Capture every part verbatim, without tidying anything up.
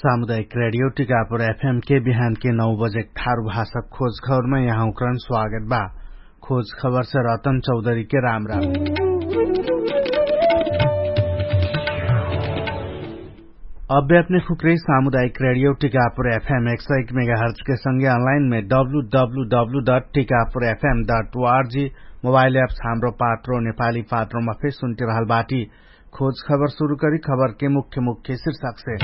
सामुदायिक रेडियो टिकापुर एफएम के बिहान के नौ बजे ठारु भाषा खोज खबरमा यहाँ उक्रन स्वागत बा। खोज खबर से रतन चौधरी के राम राम। अभ्यात्मिक हुक्रे सामुदायिक रेडियो टिकापुर एफएम एक सौ एक मेगाहर्ज के संगे अनलाइन में W W W dot Tikapur FM dot ORG mobile apps Hamro Patro नेपाली पात्रोमा फेर सुन्टिरहल बाटी। खोज खबर सुरु करी खबर के मुख्य मुख्य शीर्षक से।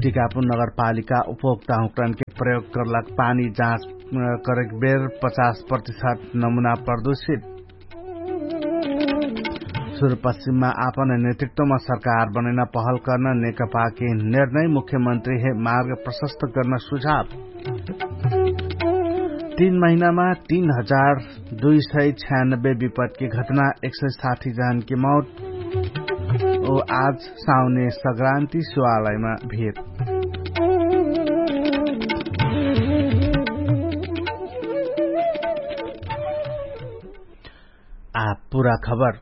टिकापुर नगरपालिका उपभोक्ता हुक्रन के प्रयोग करलक पानी जाँच करेक बेर पचास प्रतिशत नमुना प्रदूषित। सुरु पश्चिममा आपन नेतृत्वमा सरकार बनैना पहल कर्न नेकपाके निर्णय मुख्यमन्त्री हे मार्ग प्रशस्त कर्न सुझाव। तीन महिनामा तीन हजार दुई सय छ्यानब्बे विपतके घटना एक सय साठी जहनके मौत। ओ आज साउने सग्रान्ति सुवालयमा भिर। आ पुरा खबर।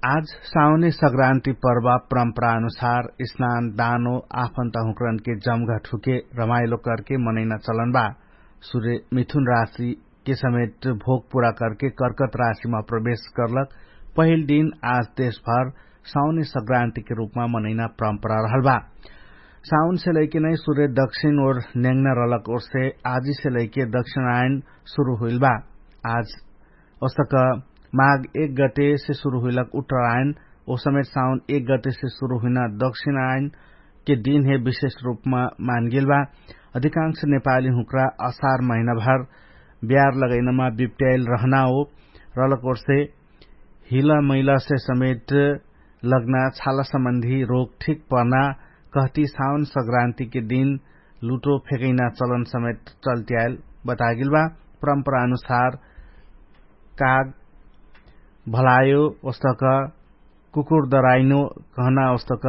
आज साउने सग्रान्ति पर्वा परम्परा अनुसार स्नान दानो आफन्ता हुक्रनके जमघट हुके रमाइलो करके मनैना चलन बा। सुरे मिथुन राशिके समेत भोग पुरा करके कर्कत राशिमा प्रवेश कर्लक पहिल दिन आज देशभर साउने सग्रान्तिके रुपमा मनैना परम्परा रहल बा। साउनसे लैके नै सुरे दक्षिण ओर न्याङ्ना रहलक ओरसे आजिसे लैके दक्षिण आयन सुरु हुइल बा। आज ओसक माघ एक गतेसे सुरु हुइलक उत्तरायन ओ समेत साउन एक गतेसे सुरु हुइना दक्षिण आयनके दिनहे विशेष रुपमा मानगेल बा। अधिकांश नेपाली हुँक्रा असार महिनाभर ब्यार लगैनमा बिप्ट्याइल रहना हो। रलकोर्से हिला मैलासे समेत लग्ना छाला सम्बन्धी रोग ठिक पर्ना कहती साउन सग्रान्तिके दिन लुटो फेकैना चलन समेत चल्त्याइल बतागेल बा। परम्परा अनुसार काग भलायो ओस्तक कुकुर दराइनो कहना ओस्तक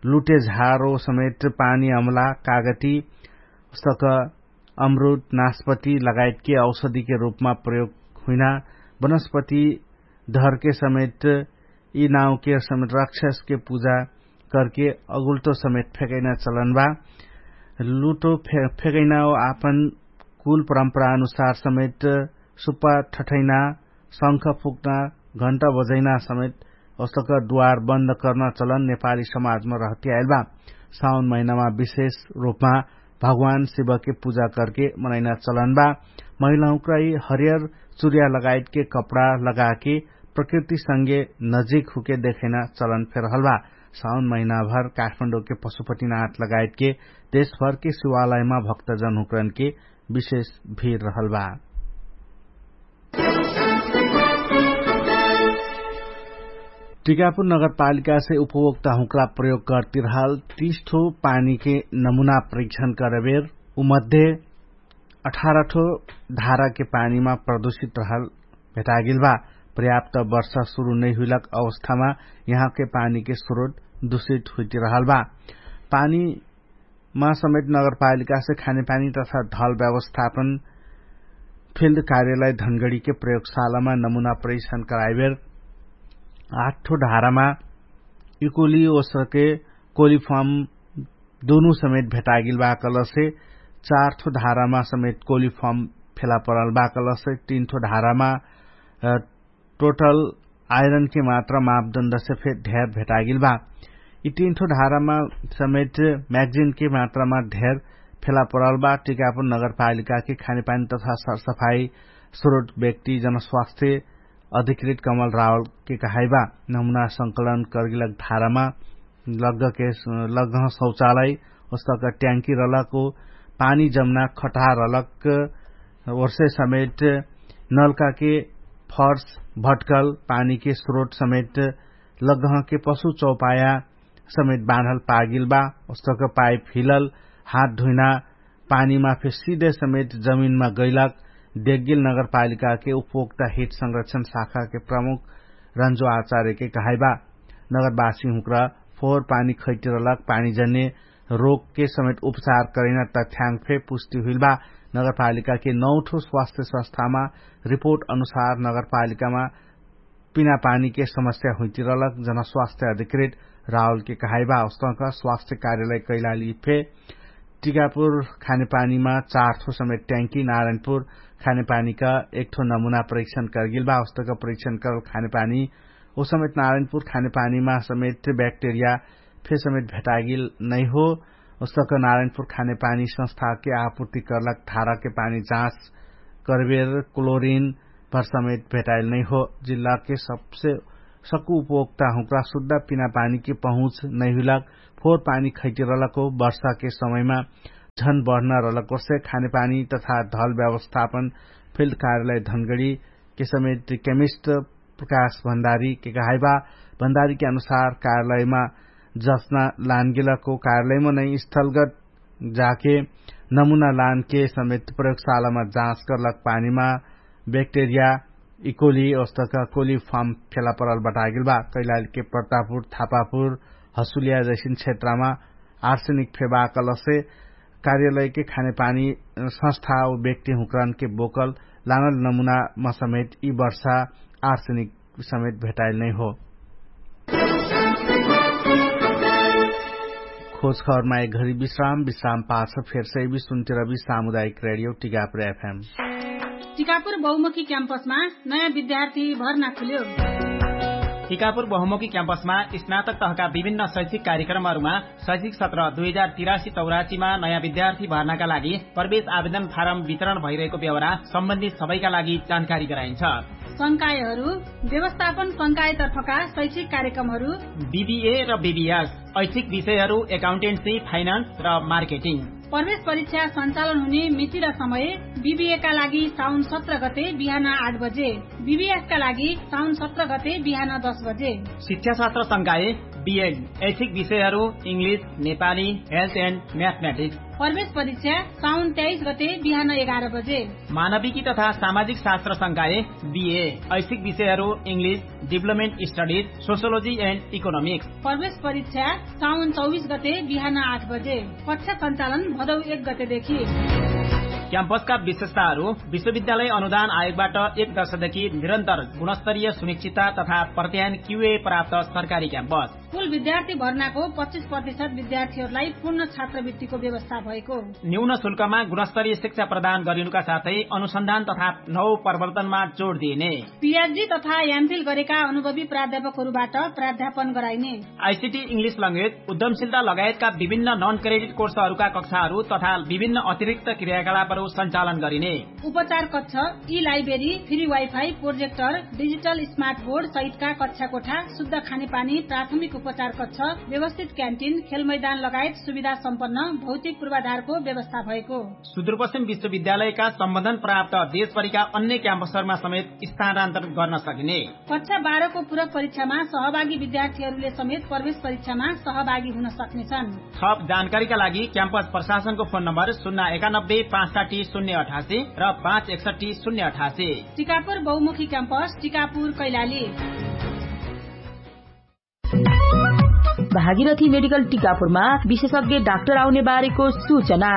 लुटे झारो समेत पानी अमला कागती ओस्तक अमरुद नास्पति लगायतके औषधिके रुपमा प्रयोग हुइना वनस्पति धरके समेत यि नाउके समेत राक्षसके पुजा करके अगुल्टो समेत फेकैना चलन बा। लुटो फेकैना ओ आपन कुल परम्परा अनुसार समेत सुप्पा ठठैना शंख फुक्ना घण्टा बजैना समेत ओस्तक द्वार बन्द कर्ना चलन नेपाली समाजमा रहतियाइल बा। साउन महिनामा विशेष रुपमा भगवान शिवके पुजा करके मनैना चलन बा। महिलाहुँक्राइ हरियर चुर्या लगायतके कपडा लगाके प्रकृतिसँगे नजिक हुके देखैना चलन फेरहल बा। साउन महिनाभर काठमाडौँके पशुपतिनाथ लगायतके देशभरके शिवालयमा भक्तजनहुँक्रनके विशेष भिर रहल बा। टिकापुर नगरपालिकासे उपभोक्ता हुँक्रा प्रयोग करतिरहल तीस ठो पानीके नमुना परीक्षण करबेर उमध्ये अठार ठो धाराके पानीमा प्रदूषित रहल भेटागेल बा। पर्याप्त वर्षा सुरु नैहुइलक अवस्थामा यहाँके पानीके स्रोत दुषित हुइतिरहल बा। पानीमा समेत नगरपालिकासे खानेपानी तथा ढल व्यवस्थापन फिल्ड कार्यलय धनगडीके प्रयोगशालामा नमुना परीक्षण कराइबेर आठ ठो धारामा इकोली ओसके कोलिफर्म दुनु समेत भेटागिल बा कलसे चार ठो धारामा समेत कोलिफर्म फेला परल बा कलसे तीन ठो धारामा टोटल आइरनके मात्रा मापदण्डसे फेर ढेर भेटागिल बा। यि तीन ठो धारामा समेत म्यागजिनके मात्रामा ढेर फेला परल बा। टिकापुर नगरपालिकाके खानेपानी तथा सरसफाई स्रोत व्यक्ति जनस्वास्थ्य अधिकृत कमल रावलके कहाइबा नमुना संकलन करगिलक धारामा लग्गके लग्गह शौचालय ओस्तक ट्याङ्की रलक पानी जम्ना खटहा रलक ओर्से समेत नलकाके फर्स भट्कल पानीके स्रोत समेत लग्गहके पशु चौपाया समेत बाँधल पागिल बा। ओस्तक पाइप हिलल हात धुइना पानीमा फे सिधे समेत जमिनमा गैलक देग्गिल नगरपालिकाके उपभोक्ता हित संरक्षण शाखाके प्रमुख रन्जो आचार्यके कहाइबा। नगरवासी हुँक्रा फोहोर पानी खैटिरलक पानीजन्य रोगके समेत उपचार करैना तथ्याङ्क फे पुष्टि हुइलबा। नगरपालिकाके नौठो स्वास्थ्य संस्थामा रिपोर्ट अनुसार नगरपालिकामा पिना पानीके समस्या हुइतिरलक जनस्वास्थ्य अधिकृत राहुलके कहाइबा अवस्थाका स्वास्थ्य कार्यालय कैलाली फे टिकापुर खानेपानीमा चार थो समेत ट्याङ्की नारायणपुर खानेपानीका एक थो नमुना परीक्षण करगिलबा अवस्थाका परीक्षण करल खानेपानी ओ समेत नारायणपुर खानेपानीमा समेत ब्याक्टेरिया फे समेत भेटागिल नैहो। अवस्थाका नारायणपुर खानेपानी संस्थाके आपूर्ति करलक धाराके पानी जाँच करबेर क्लोरिन भर समेत भेटाइल नैहो। जिल्लाके सबसे सक्कु उपभोक्ता हुँक्रा शुद्ध पिना पानीके पहुँच नैहुलक फोर पानी खैतिरलको वर्षाके समयमा झन बढ्न रलकोसे खानेपानी तथा धल व्यवस्थापन फिल्ड कार्यालय धनगडीके समेत केमिस्ट प्रकाश भण्डारीके कहाइबा। भण्डारीके अनुसार कार्यालयमा जस्ना लानगेलको कार्यालयमा नै स्थलगत जाके नमुना लानके समेत प्रयोगशालामा जाँच करलक पानीमा ब्याक्टेरिया इकोली अवस्थाका कोली फार्म फेला परल बटागेल बा। कैलालीके प्रतापुर थापापुर हसुलिया जैसिन क्षेत्रमा आर्सेनिक फेबा कलसे कार्यालयके खानेपानी संस्था व व्यक्ति हुँक्रानके बोकल लानल नमुनामा समेत यि वर्षा आर्सेनिक समेत भेटाइल नैहो। खोज खबरमा एक घरी विश्राम विश्राम पाछ फेरसै विश्वन्तिरबी सामुदायिक रेडियो टिकापुर एफएम। टिकापुर बहुमुखी क्याम्पसमा नयाँ विद्यार्थी भर्ना खुल्यो। टिकापुर बहुमुखी क्याम्पसमा स्नातक तहका विभिन्न शैक्षिक कार्यक्रमहरूमा शैक्षिक सत्र दुई हजार तिरासी चौरासीमा नयाँ विद्यार्थी भर्नाका लागि प्रवेश आवेदन फारम वितरण भइरहेको बेहोरा सम्बन्धित सबैका लागि जानकारी गराइन्छ। संकायहरू व्यवस्थापन संकायतर्फका शैक्षिक कार्यक्रमहरू बिबिए र बिबिएस, ऐच्छिक विषयहरू एकाउन्टेन्सी, फाइनान्स र मार्केटिङ। प्रवेश परीक्षा सञ्चालन हुने मिति र समय बिबिएका लागि साउन सत्र गते बिहान आठ बजे, बिबिएसका लागि साउन सत्र गते बिहान दस बजे। शिक्षाशास्त्र संकाय बिएड, ऐच्छिक विषयहरू इङ्ग्लिस, नेपाली, हेल्थ एन्ड म्याथमेटिक्स। प्रवेश परीक्षा साउन तेइस गते बिहान एघार बजे। मानविकी तथा सामाजिक शास्त्र संकाय बिए, ऐच्छिक विषयहरू इङ्ग्लिस, डिभलपमेन्ट स्टडिज, सोसियोलोजी एन्ड इकोनोमिक्स। प्रवेश परीक्षा साउन चौबिस गते बिहान आठ बजे। कक्षा सञ्चालन भदौ एक गतेदेखि। क्याम्पसका विशेषताहरू विश्वविद्यालय अनुदान आयोगबाट एक दशकदेखि निरन्तर गुणस्तरीय सुनिश्चितता तथा प्रत्यायन क्युए प्राप्त सरकारी क्याम्पस। कुल विद्यार्थी भर्नाको पच्चिस प्रतिशत विद्यार्थीहरूलाई पूर्ण छात्रवृत्तिको व्यवस्था भएको। न्यून शुल्कमा गुणस्तरीय शिक्षा प्रदान गरिनुका साथै अनुसन्धान तथा नव प्रवर्तनमा जोड दिइने। पिएचडी तथा एमफिल गरेका अनुभवी प्राध्यापकहरूबाट प्राध्यापन गराइने। आइसिटी इङ्ग्लिस लङ्गेज उद्यमशीलता लगायतका विभिन्न नन क्रेडिट कोर्सहरूका कक्षाहरू तथा विभिन्न अतिरिक्त क्रियाकलापहरू सञ्चालन गरिने। उपचार कक्ष, ई library, free wifi, projector, digital smart board सहितका कक्षा कोठा, शुद्ध खानेपानी, प्राथमिक उपचार कक्ष, व्यवस्थित क्यान्टिन, खेलमैदान लगायत सुविधा सम्पन्न भौतिक पूर्वाधारको व्यवस्था भएको। सुदूरपश्चिम विश्वविद्यालयका सम्बन्धन प्राप्त देशभरिका अन्य क्याम्पसहरूमा समेत स्थानान्तरण गर्न सकिने। कक्षा बाह्रको पूरक परीक्षामा सहभागी विद्यार्थीहरूले समेत प्रवेश परीक्षामा सहभागी हुन सक्नेछन्। थप जानकारीका लागि क्याम्पस प्रशासनको फोन नम्बर शून्य एकानब्बे पाँच साठी शून्य अठासी र पाँच एकसठी शून्य अठासी। टिकापुर बहुमुखी क्याम्पस, टिकापुर कैलाली। भागीरथी मेडिकल टिकापुरमा विशेषज्ञ डाक्टर आउने बारेको सूचना।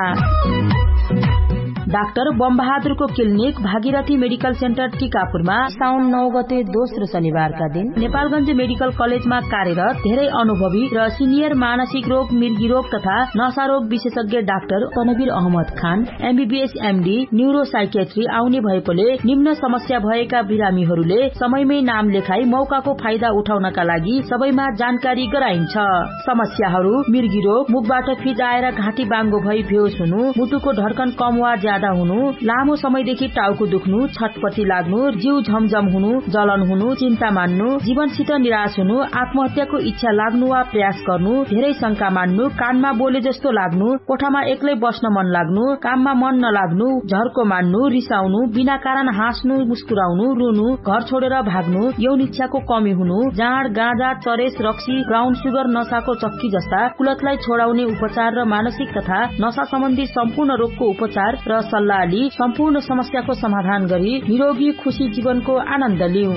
डाक्टर बमबहादुरको क्लिनिक भागीरथी मेडिकल सेन्टर टिकापुरमा साउन नौ गते दोस्रो शनिबारका दिन नेपालगञ्ज मेडिकल कलेजमा कार्यरत धेरै अनुभवी र सिनियर मानसिक रोग, मिर्गी रोग तथा नसा रोग विशेषज्ञ doctor Tanvir Ahmad Khan MBBS MD neuro psychiatry आउने भएकोले निम्न समस्या भएका बिरामीहरूले समयमै नाम लेखाई मौकाको फाइदा उठाउनका लागि सबैमा जानकारी गराइन्छ। समस्याहरू मिर्गी रोग, मुखबाट फिजाएर घाँटी बाङ्गो भई भेउस हुनु, मुटुको ढर्कन कम वा ज्यादा हुनु, लामो समयदेखि टाउको दुख्नु, छटपटी लाग्नु, जिउ झमझम हुनु, जलन हुनु, चिन्ता मान्नु, जीवनसित निराश हुनु, आत्महत्याको इच्छा लाग्नु वा प्रयास गर्नु, धेरै शंका मान्नु, कानमा बोले जस्तो लाग्नु, कोठामा एक्लै बस्न मन लाग्नु, काममा मन नलाग्नु, झर्को मान्नु, रिसाउनु, बिना कारण हाँस्नु, मुस्कुराउनु, रुनु, घर छोडेर भाग्नु, यौन इच्छाको कमी हुनु, जाँड, गाँजा, चरेस, रक्सी, ब्राउन सुगर, नसाको चक्की जस्ता कुलतलाई छोडाउने उपचार र मानसिक तथा नसा सम्बन्धी सम्पूर्ण रोगको उपचार र सल्लाह लि सम्पूर्ण समस्याको समाधान गरी निरोगी खुशी जीवनको आनन्द लिउ।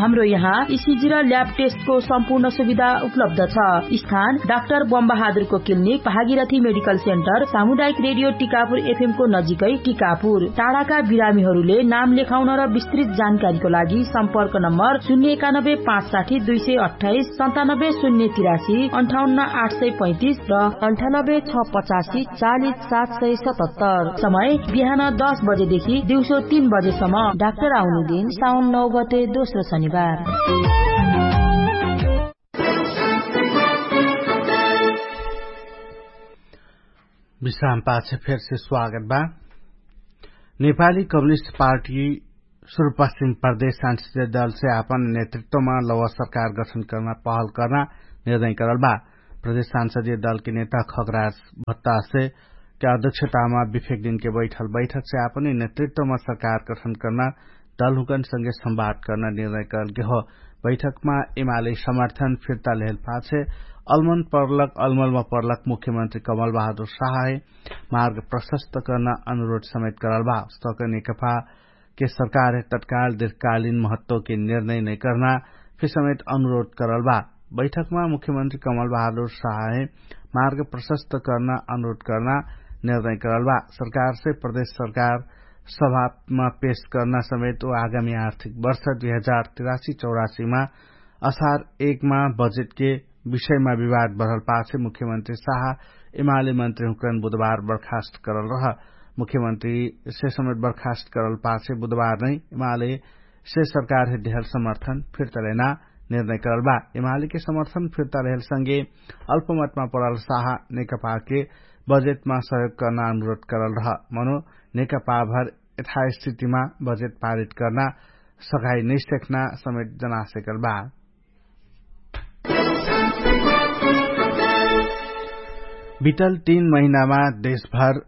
हाम्रो यहाँ इसिजी र ल्याब टेस्टको सम्पूर्ण सुविधा उपलब्ध छ। स्थान डाक्टर बमबहादुरको क्लिनिक, भागीरथी मेडिकल सेन्टर, सामुदायिक रेडियो टिकापुर एफएमको नजिकै टिकापुर। टाढाका बिरामीहरूले नाम लेखाउन र विस्तृत जानकारीको लागि सम्पर्क नम्बर शून्य एकानब्बे पाँच साठी दुई सय अट्ठाइस सन्तानब्बे शून्य तिरासी अन्ठाउन्न आठ सय पैँतिस र अन्ठानब्बे छ पचासी चालिस सात सय सतहत्तर। समय बिहान दस बजेदेखि दिउँसो तीन बजेसम्म। डाक्टर आउने दिन साउन नौ गते दोस्रो शनिबार। विश्राम पाछे फेरसे स्वागत बा। नेपाली कम्युनिस्ट पार्टी सुरुपश्चिम प्रदेश सांसदीय दलसे आपन नेतृत्वमा लवा सरकार गठन कर्ना पहल कर्ना निर्णय करल बा। प्रदेश सांसदीय दलके नेता खगराज भत्तासे के अध्यक्षतामा विफेक दिनके बैठल बैठकसे आपन नेतृत्वमा सरकार गठन कर्ना दलहुँकन संगे संवाद कर्ना निर्णय करल गेहो। बैठकमा एमाले समर्थन फिर्ता लेहल पाछे अलमन पर्लक अलमलमा पर्लक मुख्यमन्त्री कमल बहादुर साहहे मार्ग प्रशस्त कर्ना अनुरोध समेत करल बा। स्तक नेकफा के सरकार तत्काल दीर्घकालीन महत्वके निर्णय नै कर्ना फिर समेत अनुरोध करल बा। बैठकमा मुख्यमन्त्री कमल बहादुर साहहे मार्ग प्रशस्त कर्ना अनुरोध कर्ना निर्णय करल बा। सरकारसे प्रदेश सरकार सभामा पेश कर्ना समेत उ आगामी आर्थिक वर्ष दुई हजार तिरासी चौरासीमा असार एकमा बजेटके विषयमा विवाद बढल पाछे मुख्यमन्त्री साह एमाले मन्त्रीहुँकन बुधबार बर्खास्त करल रह। मुख्यमन्त्रीसे समेत बर्खास्त करल पाछे बुधबार नै एमालेसे सरकारहे देहल समर्थन फिर्ता लेना निर्णय करल बा। एमालेके समर्थन फिर्ता लेहल संगे अल्पमतमा परल साह नेकपाके बजेटमा सहयोग कर्ना अनुरोध करल रह। मनो नेकपाभर यथास्थितिमा बजेट पारित कर्ना सघाइ नैसेक्ना समेत जनासेकल बा। बितल तीन महिनामा देशभर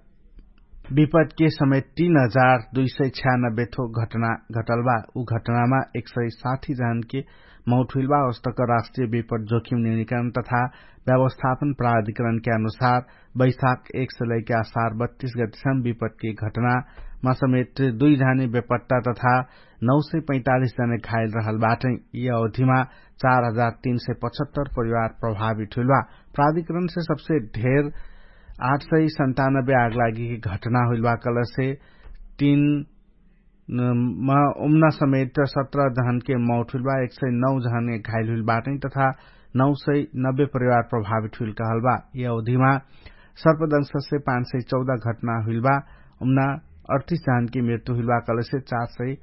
विपदके समेत तीन हजार दुई सय छ्यानब्बे थो घटना घटल बा। उ घटनामा एक सय साठी जहनके मौत हुइल बा। अस्तक राष्ट्रिय विपद जोखिम नियन्त्रण तथा व्यवस्थापन प्राधिकरणके अनुसार बैशाख एक सय लैके असार बत्तीस गतिसम विपदके घटनामा समेत दुई जहने बेपट्टा तथा नौ सय पैँतालिस जने घाइल रहल बाटै। यी अवधिमा चार हजार तीन सय पचहत्तर परिवार प्रभावित हुइल बा। प्राधिकरणसे सबसे ढेर आठ सय सन्तानब्बे आगलागीके घटना हुइल बा कलसे तीन मा उम्ना समेत सत्र जहनके मौत हुइल बा। एक सय नौ जहने घाइल हुइल बाटै तथा नौ सय नब्बे परिवार प्रभावित हुइल कहल बा। यी अवधिमा सर्पदंशसे पाँच सय चौध घटना हुइल बा। उम्ना अडतिस जहनके मृत्यु हुइल बा कलसे चार सय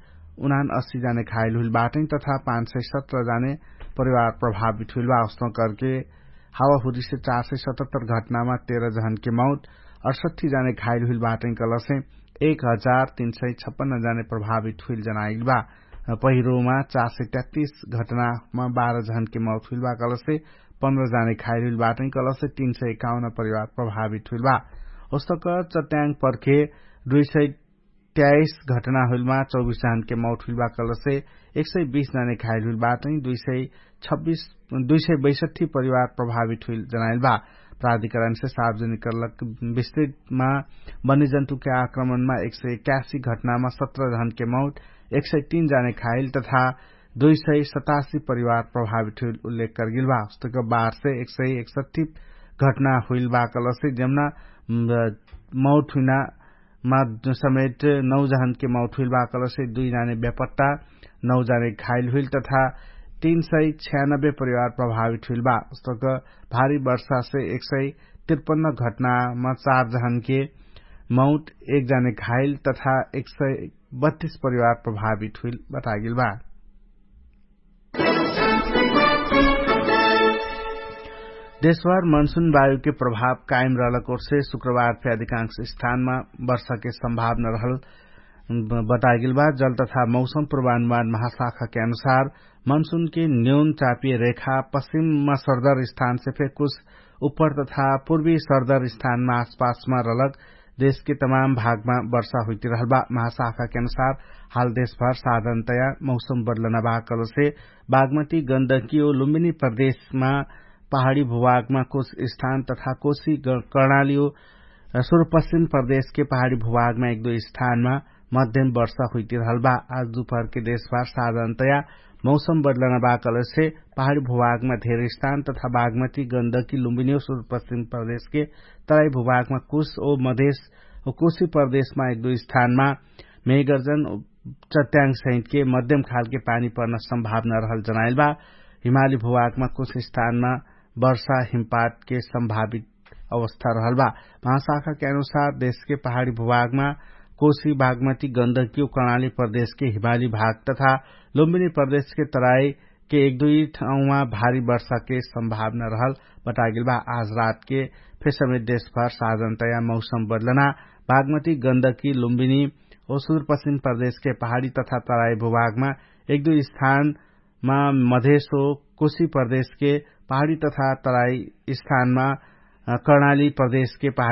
उनान अस्सी जने घाइल हुइल बाटै तथा पाँच सय सत्र जने परिवार प्रभावित हुइल बा। अस्तौ करके हावाहुरीसे चार सय सतहत्तर घटनामा तेह्र जहनके मौत अठसट्ठी जने घाइल हुइल बाटै कलसे एक हजार तीन सय छप्पन्न जने प्रभावित हुइल जनाइल बा। पहिरोमा चार सय तेत्तीस घटनामा बाह्र जहनके मौत हुइल बा कलसे पन्ध्र जने घाइल हुइल बाटै कलसे तीन सय एकाउन्न परिवार प्रभावित हुइल बा। ओस्तक चट्याङ पर्खे दुई सय त्याइस घटना हुइलमा चौबिस जहनके मौत हुइल बा कलसे एक सय बीस जने घाइल हुइल बाटै दुई सय छब्बिस दुई सय बैसठी परिवार प्रभावित हुइल जनाइल बा। प्राधिकरणसे सार्वजनिक करलक विस्तृतमा वन्यजन्तुके आक्रमणमा एक सय एकासी घटनामा सत्र जहनके मौत एक सय तीन जने घाइल तथा दुई सय सतासी परिवार प्रभावित हुइल उल्लेख करगेल बा। उस्तक बारसे एक सय एकसठी घटना हुइल बा कलसे जम्ना मौत हुइना मा समेत नौ जहनके मौत हुइल बा कलसे दुई जाने बेपट्टा नौ जाने घाइल हुइल तथा तीन सय छ्यानब्बे परिवार प्रभावित हुइल बा। उस्तक भारी वर्षासे एक सय तिरपन्न घटनामा चार जहनके मौत एक जाने घाइल तथा एक सय बत्तीस परिवार प्रभावित हुइल बतागेल बा। देशभर मनसुन वायुके प्रभाव कायम रहलक ओर्से शुक्रबार फे अधिकांश स्थानमा वर्षाके सम्भावना रहल बतागेल बा। जल तथा मौसम प्रवानुमान महाशाखाके अनुसार मनसुनके न्यून चापिय रेखा पश्चिममा सरदर स्थानसे फे कुछ उप्पर तथा पूर्वी सरदर स्थानमा आसपासमा रहलक देशके तमाम भागमा वर्षा हुइतिरहल बा। महाशाखाके अनुसार हाल देशभर साधारणतया मौसम बदलना बा कलसे बागमती गन्दकी ओ लुम्बिनी प्रदेशमा पहाडी भूभागमा कुछ स्थान तथा कोशी कर्णाली ओ सुरुपश्चिम प्रदेशके पहाडी भूभागमा एक दुई स्थानमा मध्यम वर्षा हुइतिरहल बा। आज दुपहरके देशभर साधारणतया मौसम बदलना बाकलसे पहाडी भुभागमा धेर स्थान तथा बागमती गन्दकी लुम्बिनियो सुदूर पश्चिम प्रदेशके तराई भुभागमा कुश ओ मधेश ओ कुशी प्रदेशमा एक दुई स्थानमा मेगर्जन चट्याङ सहितके मध्यम खालके पानी पर्न सम्भावना रहल जनाइल बा। हिमाली भुभागमा कुश स्थानमा वर्षा हिमपातके सम्भावित अवस्था रहल बा। महाशाखाके अनुसार देशके पहाडी भुभागमा कोशी बागमती गन्दकी ओ कर्णाली प्रदेशके हिमाली भाग तथा लुम्बिनी प्रदेशके तराई के एक दुई ठाउँमा भारी वर्षाके सम्भावना रहल बतागेल बा। आज रातके फेर समेत देशभर साधनतया मौसम बदलना बागमती गन्दकी लुम्बिनी ओ सुदूर पश्चिम प्रदेशके पहाडी तथा तराई भुभागमा एक दुई स्थानमा मधेशो कोशी प्रदेशके पहाडी तथा तराई स्थानमा कर्णाली प्रदेशके पहाडी